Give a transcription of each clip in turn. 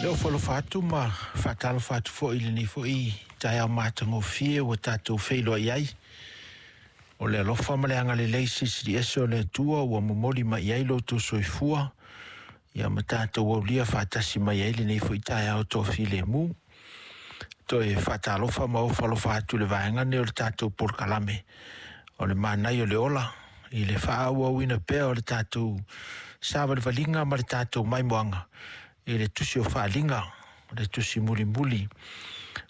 E ofo alofa atu ma faatalofa atu foi i lenei foi taeao matagofie ua tatou feiloai ai. O le alofa ma le agalelei silisili ese o le Atua ua momoli mai ai lo outou soifua, ia ma tatou aulia faatasi mai ai lenei foi taeao toafilemu. Toe faatalofa ma ofo alofa atu i le vaega lenei o le tatou polokalame o le Manaia o le Ola i le faaauauina pea o le tatou savalivaliga ma le tatou maimoaga i le tusi o Faaaliga, le tusi mulimuli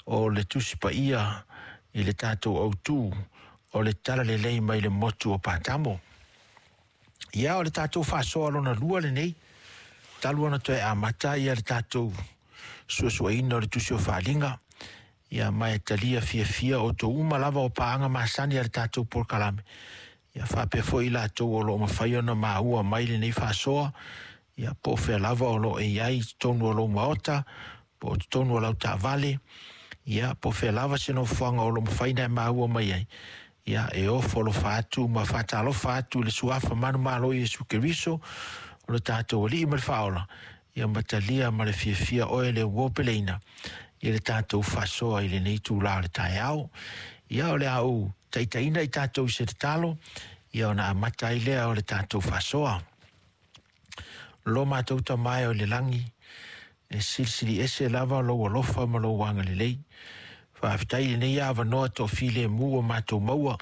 o le tusi paia i le tatou autu o le Talalelei mai le motu o Patamo. Ia, o le tatou faasoa lona lua lenei, talu ona toe amata ia le tatou suesueina o le tusi o Faaaliga, ia ma e talia fiafia outou uma lava o paaga masani a le tatou polokalame, ia faapea foi i latou o lo o mafai ona maua mai lenei faasoa, ia po o fea lava o lo o e i ai i totonu o lou maota, po o totonu o lau taavale, ia po o fea lava se nofoaga o lo o mafai ona e maua mai ai, ia e ofo alofa atu ma faatalofa atu i le suafa manumalo o Iesu Keriso, o le tatou Alii ma le Faaola, ia ma talia ma le fiafia oe le uopeleina i le tatou faasoa i lenei itula o le taeao. Ia o le a ou taitaiina i tatou i se tatalo, ia ona amata ai lea o le tatou faasoa. Lo matou Tama e o i le lagi, e silisili ese lava lou alofa ma lou agalelei. Faafetai i lenei avanoa toafilemu ua matou maua,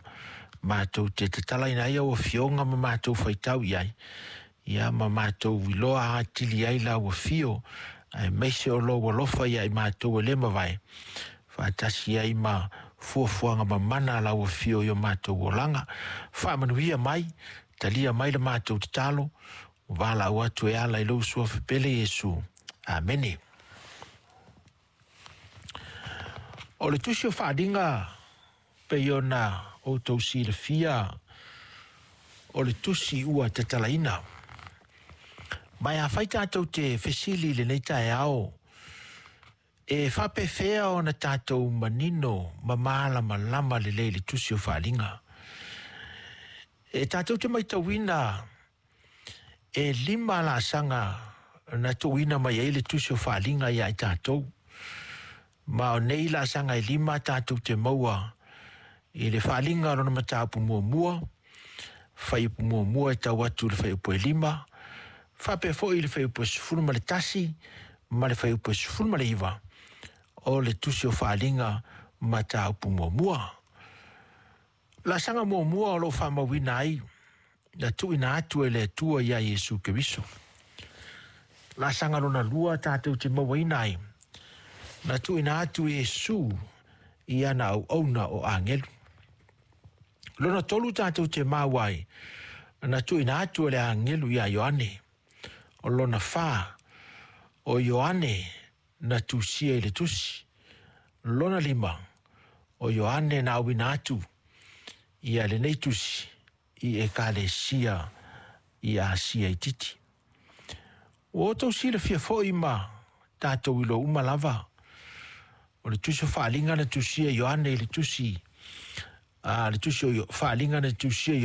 matou te tatalaina ai au afioga ma matou faitau i ai, ia ma matou iloa atili ai lau afio, aemaise o lou alofa ia i matou e le mavae, faatasi ai ma fuafuaga mamana a lau afio i o matou olaga. Faamanuia mai, talia mai le matou tatalo, valaau atu e ala i lou suafa pele Iesu. Amene. O le tusi o Faaaliga pei ona outou silafia, o le tusi ua tatalaina. Ma e afai tatou te fesili i lenei taeao, e faapefea ona tatou manino ma malamalama lelei i le tusi o Faaaliga? E tatou te matauina e 5 laasaga na tuuina mai ai le tusi o Faaaliga ia i tatou. Ma o nei laasaga e 5 tatou te maua i le Faaaliga lona mataupu muamua, fuaiupu muamua e tau atu i le fuaiupu e 5, faapea foi i le fuaiupu e 11 ma le fuaiupu e 19 o le tusi o Faaaliga mataupu muamua. Laasaga muamua o lo o faamauina ai na tuuina atu e le Atua ia Iesu Keriso. Laasaga lona lua tatou te mauaina ai na tuuina atu e Iesu i ana auauna o agelu. Lona tolu tatou te maua ai na tuuina atu e le agelu ia Ioane. O lona fa o Ioane na tusia i le tusi. Lona 5 o Ioane na auina atu ia lenei tusi i ekalesia i Asia itiiti. Ua outou silafia foi ma tatou iloa uma lava o le tusi o Faaaliga na tusia Ioane i le tusi, le tusi o Faaaliga na tusia